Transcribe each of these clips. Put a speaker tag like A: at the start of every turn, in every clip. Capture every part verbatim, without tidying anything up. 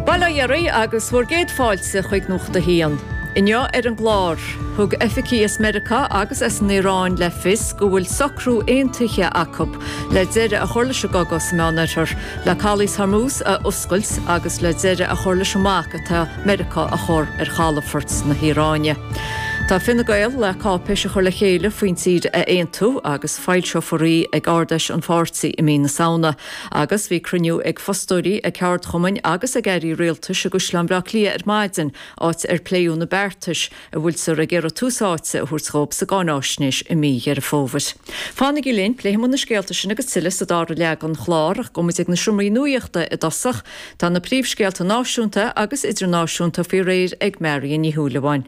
A: Bail ó Dhia oraibh agus bhur gcéad fáilte chuig Nuacht a hAon. Inniu ar an gclár, thug oifigigh as Meiriceá agus as an Iaráin le fios go bhfuil socrú aontaithe acu le deireadh a chur leis an gcogadh sa Meánoirthear, le calaos Hormuz a oscailt agus le deireadh a chur leis an mbac atá Meiriceá a chur ar chalafoirt na hIaráine. Tá Fine Gael le cáipéis a chur le chéile faoin tír a aontú agus foilseofar í ag Ard-Fheis an pháirtí i mí na Samhna. Agus bhí cruinniú ag fostóirí, ag ceardchumainn agus ag airí rialtais i gCaisleán Bhaile Átha Cliath ar maidin, áit ar pléadh na beartais a bhfuiltear ag iarraidh tús áite a thabhairt dóibh sa gcáináisnéis i mí Dheireadh Fómhair. Fanaigí linn, pléifidh muid na scéalta sin agus tuilleadh sa dara leath den chlár ach gabhfaidh muid ag na seomraí nuachta i dtosach. Tá na príomhscéalta náisiúnta agus idirnáisiúnta faoi réir ag Marion Ní Shúilleabháin.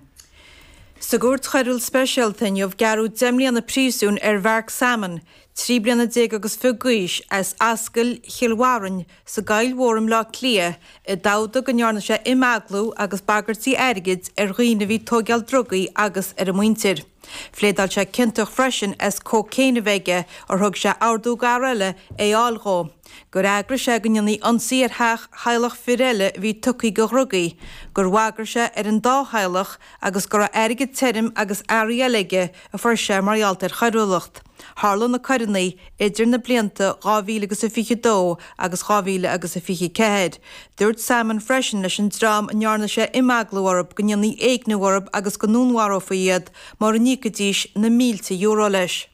B: Sa gcúirt choiriúil speisialta inniu gearradh deich mbliana príosúin ar Mhark Salmon, trí bliana déag agus fiche d'aois, as Ascaill Chill Bharrainn sa gCoill Mhór i mBleá Cliath, i dtabhda go ndearna sé imeaglú agus bagairtí airgid ar dhaoine a bhí ag tóigeáil drugaí agus ar a muintir. Phléadáil sé ciontach freisin as cócaon a bheith aige ar thug sé ordú d'fhear eile é a fháil dhó, gur eagraigh sé go ndéanfaí ionsaí ar theach theaghlach fir eile a bhí tugtha do dhrugaí, gur bhagair sé ar an dá theaghlach agus go raibh airgead tirim agus earraí eile aige a fuair sé mar gheall ar choiriúlacht. Tharla na coireanna idir na blianta dhá mhíle agus a fiche dó agus dhá mhíle agus a fiche ceathair. Dúirt Salmon freisin leis an dream a ndearna sé imeaglú orthu go ndéanfaí éigniú orthu agus go ndúnmharófaí iad mura n-íocfaidís na mílte euro leis.